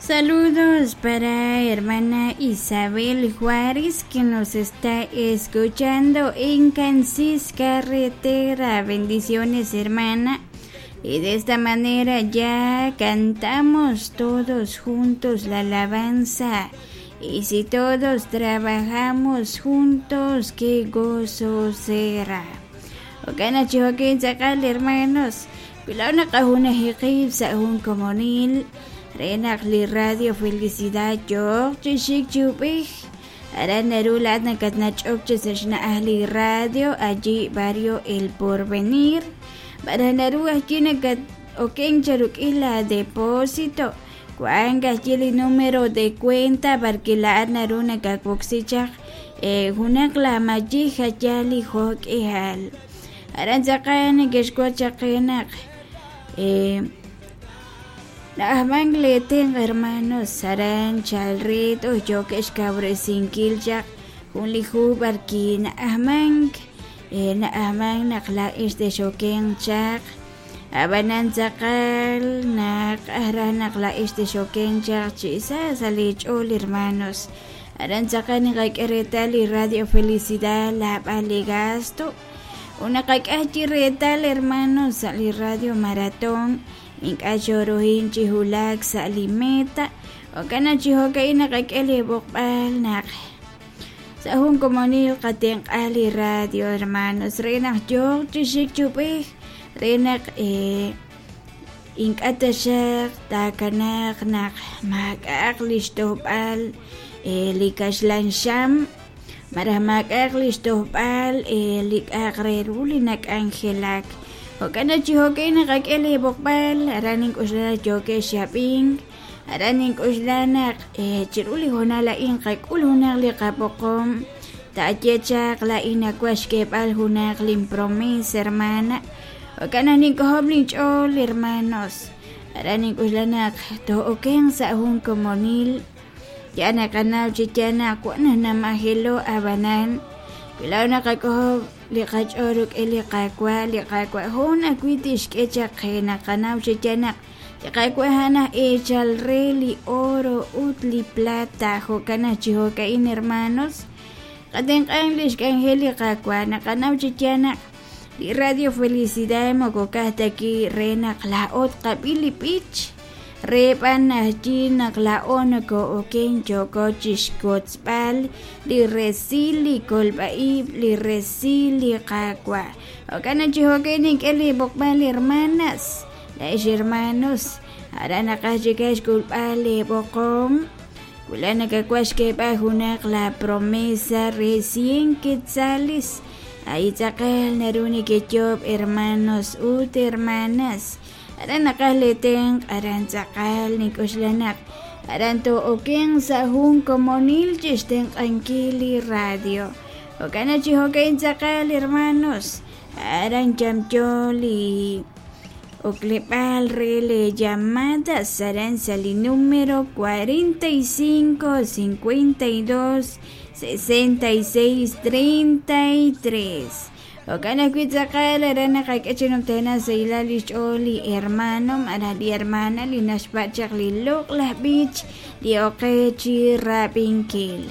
Saludos para hermana Isabel Juárez que nos está escuchando en Cansis Carretera. Bendiciones, hermana. Y de esta manera ya cantamos todos juntos la alabanza. Y si todos trabajamos juntos, qué gozo será. Jo'kan chi jo'kin tz'aqal hermanos. Wi laa'o naqajunaji qib' sa' jun komonil re naq li Radio Felicidad yooq chi xik chi ub'ej. Aran naru laa'at nakatnach'ok chi sa' xna'aj li radio allí barrio El Porvenir. Malaj naru ajwi' nakat-oken charuk'il la depósito. Wank ajwi' li número de cuenta b'arwi' laa'at naru nakawoksi chaq junaq la mayij a' yaal li jo' k'ihal. Aran tz'aqal neke'xwotz chaq qe naq na'ajmank li tenq' hermanos aran chalre toj yookeb' xkawresinkil chaq jun li hu b'arwi' na'ajmank na'ajmank naq laa'ex texokenq chaq ab'anan tz'aqal naq raj naq laa'ex texokenq chaq chi sa sa' li ch'ool hermanos. Aran tz'aqal naqak'e reetal li Radio Felicidad lab'al li gasto ut naqak'e ajwi' reetal hermanos sa' li Radio Maratón ink'a' xooruhin chi wulak sa' li meta jo'kan naq chi jo'ka'in naqak'e li b'oqb'al naq sa' jun komonil qatenq'a li radio hermanos re naq yooq chi xik chi ub'ej re naq ink'a' taxaq taakanaaq naq maak'a'aq li xtojb'al li kaxlan xam malaj maak'a'aq li xtojb'al li k'a'aq re ru li nak'anjelak jo'kan naq chi jo'ka'in naqak'e li b'oqb'al aran nink'oxla naq yookeb' xab'ink aran nink'oxla naq chiru li hoonal a'in qak'ul junaq li qab'oqom taaye chaq laa'in nawaj xk'eeb'al junaq lin promesa hermana jo'kan naq nink'ojob' linch'ool hermanos aran nink'oxla naq too'okenq sa' jun komonil ya naqanaw chi yaal naq wan naq namajelo ab'anan wi laa'o naqak'ojob' li qach'ool rik'in li Qaawa' li Qaawa' jun ajwi' tixk'e chaq qe naqanaw chi yaal naq li Qaawa' a'an aj eechal re li oro ut li plata jo'kan naq chi jo'ka'in hermanos qatenq'ank li xk'anjel li Qaawa' naqanaw chi yaal naq li Radio Felicidad moko ka'aj ta wi' re naq laa'o tqab'i li b'ich re b'an ajwi' naq laa'o noko'oken yooko chixwotzb'al li resil li kolb'a-ib' li resil li Qaawa' jo'kan naq chi jo'kan nink'e li b'oqb'al hermanas laa'ex hermanos aran naqaj chik xk'ulb'al li b'oqom wula nakawaj xk'eeb'al junaq la promesa re 100 quetzales ahí tz'aqal naru nekeyob' hermanos ut hermanas aran naqaj li tenq' aran tz'aqal nink'oxla naq aran too'okenq sa' jun komonil chixtenq'ankil li radio jo'kan naq chi jo'ka'in tz'aqal hermanos aran yamyo li okleb'aal re le llamadas aran sa' li número 45 52 66 33 jo'kan ajwi' tz'aqal aran naqak'e chi numtajenaq sahilal li xch'ool li hermano malaj li hermana li naxpa' chaq li loq'laj b'ich li oqe chi rab'inkil.